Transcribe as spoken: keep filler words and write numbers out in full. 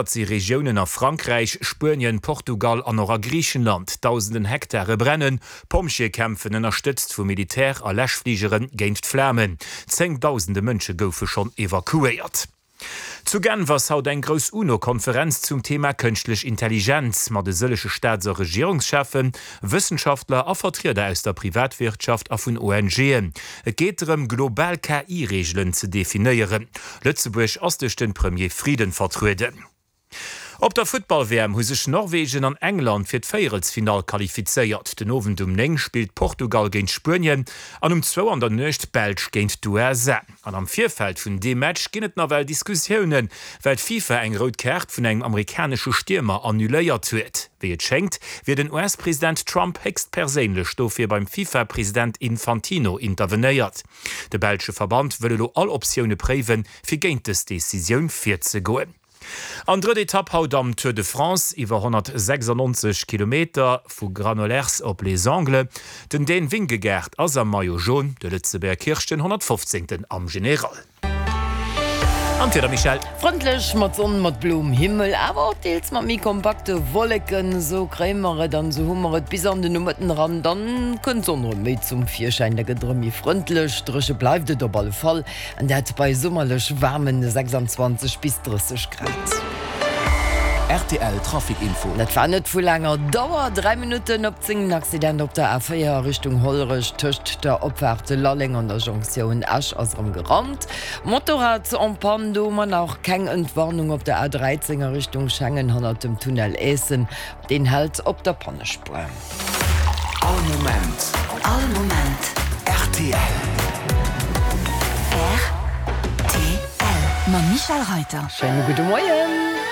si Regiounen a Frankräich, Spuenien, Portugal an och a Griichenland. Dausenden Hektare brennen. Pompjeeë kämpfen, ënnerstëtzt vu Militär a Läschfligeren, géint d'Flamen. Zéngdausende Mënsche goufe schonn evakuéiert. Zu Genf ass haut eng grouss UNO-Konferenz zum Thema Kënschtlech Intelligenz mat e sëllege Staats a Regierungscheffen, Wëssenschaftler a Vertrieder aus der Privatwirtschaft a vun ONGen. Et geet drëm, global K I-Reegelen ze definéieren. Lëtzebuerg ass duerch de Premier Frieden vertrueden. Op der Futtball-W M hu sech Norwegen an England fir d'Véierelsfinall qualifizéiert. Den Owend um néng spillt Portugal géint Spuenien an um zwou an der Nuecht d'Belsch géint d'U S A. An am Virfeld vun deem Match ginn et nawell Diskussiounen, well d'FIFA eng rout Kaart vun engem amerikanesche Stiermer annuléiert huet. Wéi et schéngt, wier den U S-President Trump héchstperséinlech dofir beim FIFA-President Infantino intervenéiert. De belsche Verband wëll elo all Optioune préiwen, fir géint dës Decisioun virzegoen. An drëtt Etapp haut am Tour de France iwwer honnertsechsannonzeg Kilometer vu Granollers op Les Angles. Den Dän Vingegaard ass am Maillot Jaune, de Lëtzebuerger Kirsch den honnertfofzéngten am General. An d'Wieder, Michèle? Frëndlech mat Sonn, mat bloem Himmel, awer och deels mat méi kompakte Wolleken. Esou kréie mer et an esou hu mer et bis an de Nomëtten eran. Dann kënnt d'Sonn erëm méi zum Virschäin, da gëtt et erëm méi frëndlech. Dréche bleift et op alle Fall, an dat bei summerlech waarmen sechsanzwanzeg bis drësseg Grad. R T L Trafic Info. Dat war net vu laanger Dauer, dräi Minutten op zéng, en Accident op der A véier a Richtung Hollerech tëscht der Opfaart Lalleng an der Jonktioun Esch ass erëm gerannt. Motorrad en panne, do hu mer nach keng Entwarnung op der A dräizéng a Richtung Schengen hannert dem Tunnel Eessen, deen hält op der Pannespuer. All Moment. All Moment. R T L. R T L. Mam Michel Reiter. Schéine gudde Moien.